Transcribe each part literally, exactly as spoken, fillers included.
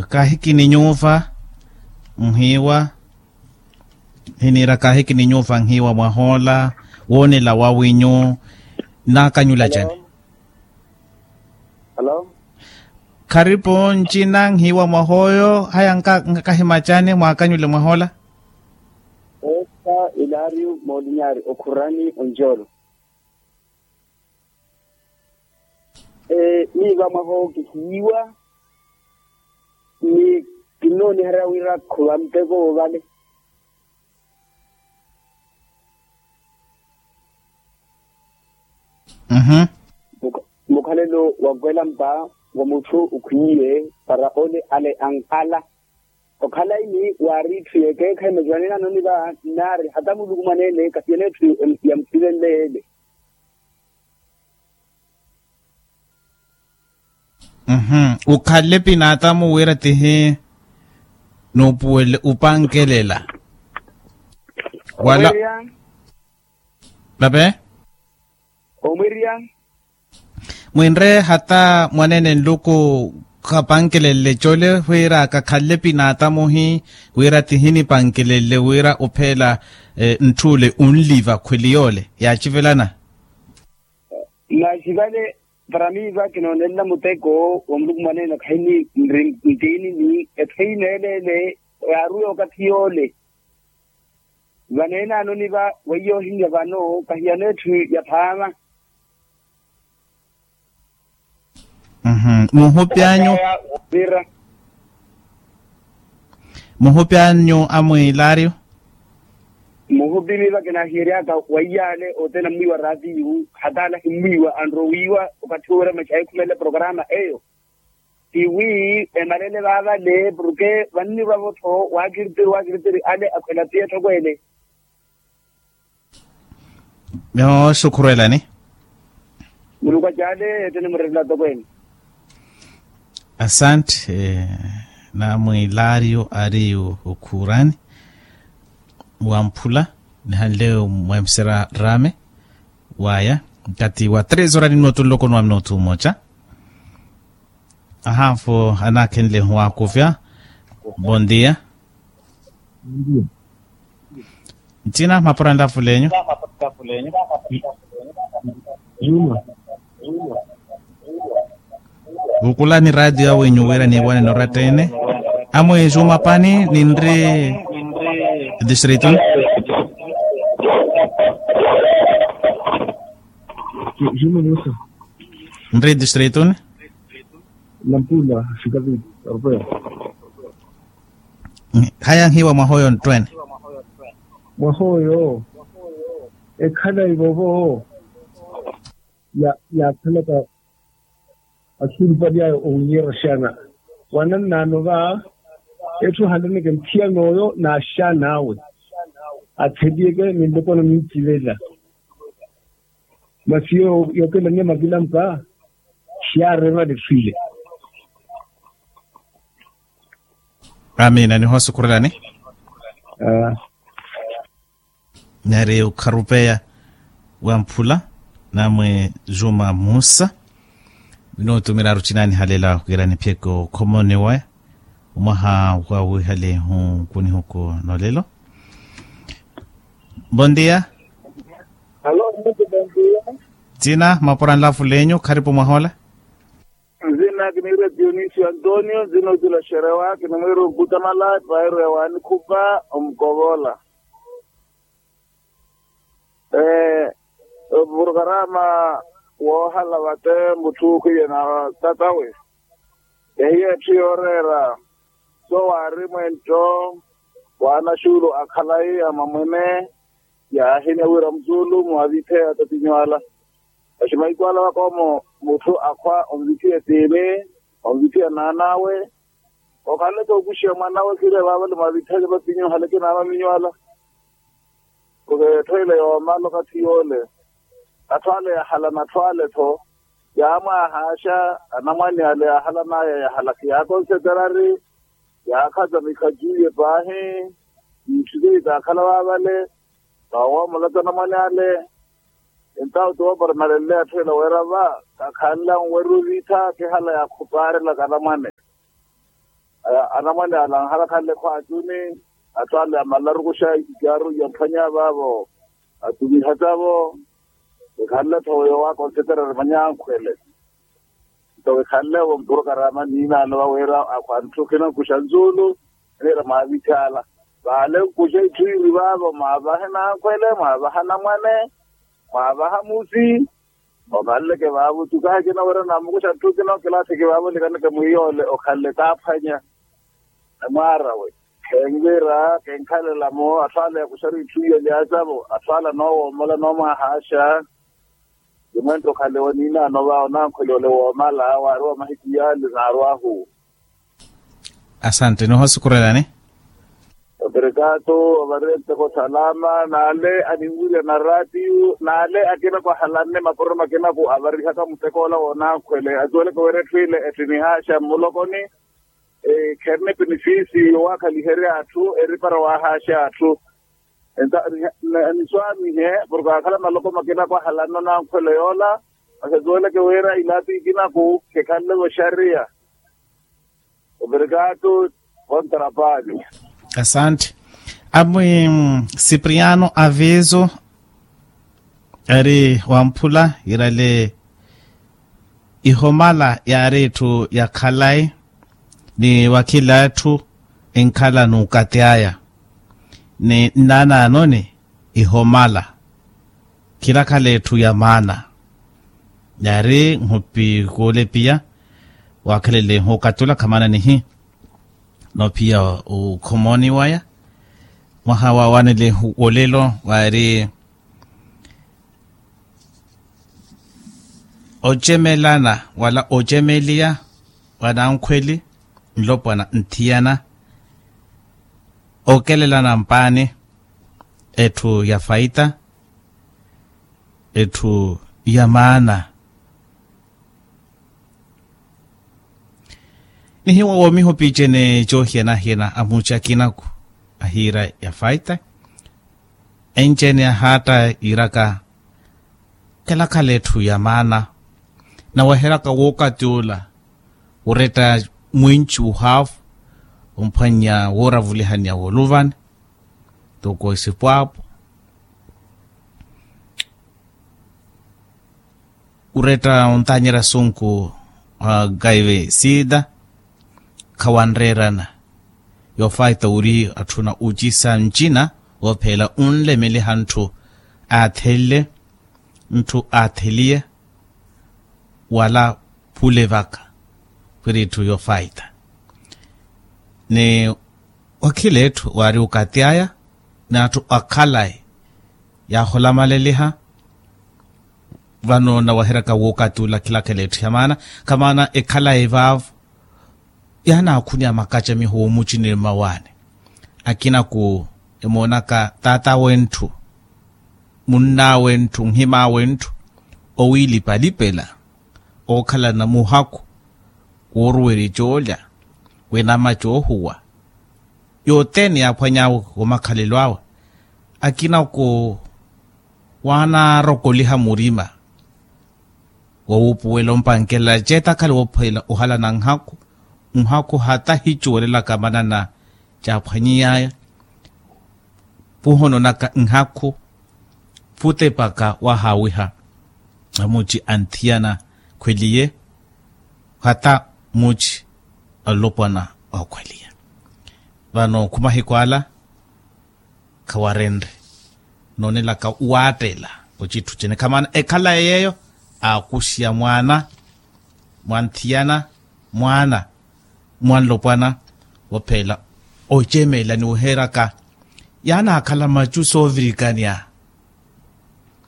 Kahiki ni nyuuva nhiiwa. Hiniira kahiki ni nyuuva nhiiwa mwahoola woonela wawinyu nnaakanyula cani? Kharipu ncina nhiiwa mwahooyo haya nkakahi macani mwaakanyule mwahoola. Esta ilario molinari okhurani onjolo. Miiva mwaho kihiiwa ni kinnooniherya wira khuva muteko woovale. Mukhalelo wa kwelampa wa mutthu ukhwiiye para ole ale ankala. Okhala ini waari itthu yekeekhayi majuwanene anoniva nnaari hata muluku mwaneene kahiyana etthu yamuthivenle yeele. Ukhale pinatamu wira tihi nuupuwele upankelela wala. Pape. Omwirya. Mwinre hata mwaneene nluku khapankelelle cole wira kakhalle pinaatamuhi wira tihinipankelelle wira opheela ntthule unliva khweli yole yaacivelana. Masi vale para miiva kinoonelela muteko wa muluku mwaneene khayiniri ntiini ni etthu eyi neeleele yaaruwe okathi yole. Vaneene anoniva weiya ohinya vano kahiyana etthu ya phaama. Muhupi anyu. Muhupi anyu amwiilaaryo. Muhupi miiva kinaahiyeryaka weiya ale othene ammwiiwa raatiyu hata ale ahimmwiiwa anrowiiwa okathi wira maxa ekhumele programa eyo. Ti wi emalele vaavale porke vannirwa-vo-tho waakiritiri waakiritiri ale akhwela piya etthokweene. Yooxukhurelani. Muluku acaale ettene murerela atokweene. Asante. Namwiilaaryo ari okhurani wamphula nihanle mweemisera raame waya nkathi wa tres ora ni minutu nloko ni wa minutu mmoja. Ahaafo anaakhenle owaakuvya. Bondia. Nthina mapura nlafulenyu. Vukulani raatiyo awenyu wira niiwanene oratta-ene. Amwe juma pani ninri distritu-ni. Juma musa. Nri distritu-ni. Nampula sikavili europeo. Haya nhiiwa mwaha oyo nttwene. Mwaha oyo ekhala ivovo. Yaakhalaka axulupali ayo owinyerya axaana. Wanannaano va etthu ohalaneke nthiyana oyo n'axaana awe atheliyeke ni nloko nanintivela. Masi yookelaniya makilampa siyaarerwa lefwile. Amiina nihosukhurelani. Nari okharupeya wamphula namwe juma musa. Vinootumira arucinaani halela okirani phiyeke okhomoniwe. Omwaha wawihale hunkunihuku nolelo. Bondia. Alo. Bondia. Ntsina mapura nlafulenyu kharipu mwahola. Ntsina kiniira dionisio antonio ntsina otula xerewa kinimwiira okutamala epairu ya wanikhupa omukovola. Ee, opurokaraama woohala vate mutthu okhwiye na tatawe. Ehiya etthu yooreera so waari mwentto wa anaxuulu a khalayi a mamwene. Yaahimya wira musuulu mwavitheya atapinyu ala. Axi mahiku ala vakoomo mutthu akhwa onvithiya etiini onvithiya naan'awe. Okhanle-tho okuxiya mwan'awe khire vaavale mwaavitheke vapinyu haleke naamaminyu ala. Khuve etthu ila yoomala okathi yoole. Atthu ale yahalana atthu ale-tho. Yaamwaahaaxa anamwane ale yaahalan'aya yahalaka yaakonseterari. Yaakhaza mikhajuye paahi. Itthu zeyi taakhala vaavale. Vaawoomolata anamwane ale. Entawo ti wooparamalenle atthu ela wira va kakhanle anwerya oviitha kihala yaakhupaarelaka anamwane. Anamwane ala anhala khanle khwaatuni, atthu ale amalarukuxa ikaaru yaphwanya vaavo, atumiha tavo. Ekhanle tho yoowa konseterari manya ankhwele. Nto ekhanle vo mpurokaraama niinaano vaweera akhwa ntthu khinakuxa nzuulu, niira mwaavitthaala. Vaale nkuxa itthu iiri vaavo mwaavahe nankhwele mwaavaha namwane, mwaavaha musi. Okhanleke vaavo tukahe kinaweera namukuxa ntthu kina okilaaseke vaavo likaneke mwiiyoole okhanle kaaphwanya. Emwaarawe khenvira kenkhalela-mo atthu ale yakuxari itthu iya lyaasavo atthu ale anoowoomola anoomwahaaxa. Imwento khale waniinaano va onankhweli ole woomala waari wa mahiku yaale naarwahu. Asante nihosukurelani. Obrigado. Ovarenteko salama naale aninwirya na ratio naale akina kwahalanne mapuro makinaku avarihaka muteko ola woonankhwele atuweleke wira etthu ile ettinihaaxa mmulokoni. Kherina epenifisi yowaakhaliherya atthu eripara wahaaxa atthu. Enta niswaamihe porke akhala maloko makina kwahalanna onankhwela yoola. Masi atuweleke wira ilaati ikinaku khekhanle voxariya. Obrigado. Kontrapali. Asante. Amwi sipriano aviso eri wamphula irale ihomala yaari etthu ya khalayi ni wakhila atthu enkhala n'ukati aya ni nnaanaanoni ihomala khilakhala etthu ya maana. Yaari nhupi khuulepiya waakhelele nhuukatula khamana nihi noophiya okhomoni waya mwaha waawanele wolelo waari ocemelana wala ocemeliya wa nankhweli nlopwana nthiyana okelelana mpaani etthu ya faita etthu ya maana. Nihiwa woomiha opiicene coohiyana-hiyana a muci akinaku ahiira ya faita encene ahaatta yiiraka kelakhala etthu ya maana. Naweheraka wookati ola wuretta mwinci wuhaavu omphwannya wooravulihaniya woluvani toko esipwaapo wuretta ontanyerya asunku a kaive sida. Khawanreerana yoofaita wuri atthuna ocisa ncina woophela onlemeliha ntthu aathelele ntthu aatheliye wala phule vaka wiri itthu yoofaita ni wakhila etthu waari okati aya n'atthu akhalayi yaaholamaleliha. Vano nawahiryaka wookati ola khilakhala etthu ya maana kha maana ekhalayi vaavo yaanaakhunya makacamiho woomuciniri mmawaani akinaku emoonaka taata w'entthu munn'awe ntthu nhim'awe ntthu owiilipalipela ookhalana muhakhu wooruwerya coolya w'enama coohuwa yothene yaaphwany'awe omakhalelo awe akina oko waanaarokoliha murima wowuupuwela ompankelela ceetakhala woophwela ohalana nhakhu nhakhu hata hicuwelelaka manana caaphwanyiy'aya puhononaka nhakhu phutepaka wahaawiha amuci anthiyana khweliye hata muci alopwana okhweliye vano khumahiku ala khawarenre noonelaka waattela ocitthu cene khamana ekhalaye yeeyo aakuxiya mwaana mwanthiyana mwaana mwanlopwana woophela ocemela ni weheraka yaanaakhala macu soovirikaniya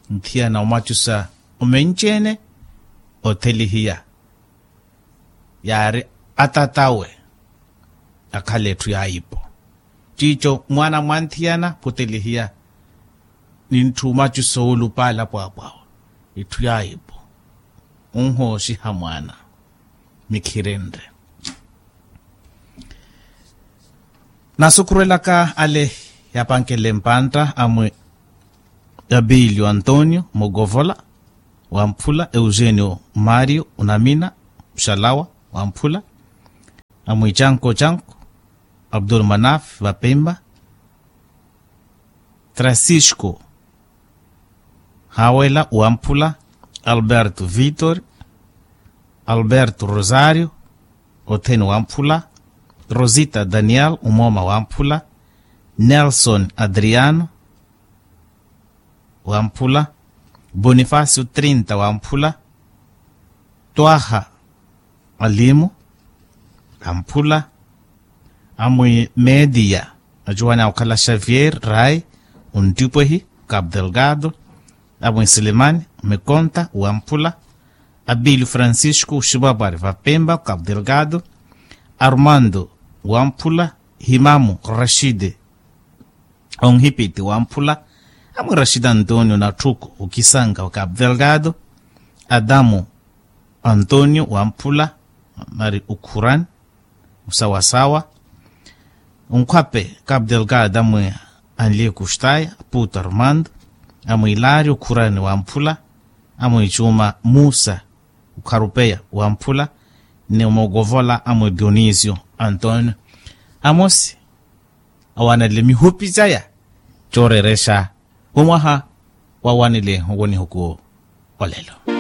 nthiyana omacusa omenci-ene othelihiya yaari atat'awe akhala etthu ya ipo ciico mwaana mwanthiyana phutelihiya ni ntthu omacusa oolupaala pwaapwaawa itthu ya ipo onhooxiha mwaana nikhirenre nasukhurelaka ale yapankenle mpantta amwi abilio antonio mukovola wamphula eugenio mario unamina muxalawa wamphula amwi canko canko Abdul Manaf vapemba, Francisco Hawela wamphula, Alberto Vitor, Alberto Rosario othene wamphula, Rosita Daniel umooma wamphula, Nelson Adriano wamphula, Bonifacio Trinta wamphula, Twaha Alimu amphula, amwi Media, acuwani akhala Xavier Rai, onttipwehi Cabo Delgado, amwi Silimani Mikonta wamphula, Abili Francisco Xipapari vapemba Cabo Delgado, Armando wamphula, Himamu Rashidi onhipiti wamphula, amwi Rashidi Antonio Natthuku okisanka wa Cabo Delgado, Adamu Antonio wamphula, mari okhurani osawasawa, onkhwape Cabo Delgado amwi Anlie Kustaya, Puto Armando, amwi Ilario okhurani wamphula, amwi Cuma Musa okharupeya wamphula, ni omokovola amwi Dionisio Antonio. Amosi awanele mihupi caya cooreerexa omwaha wawanele owonihuku olelo.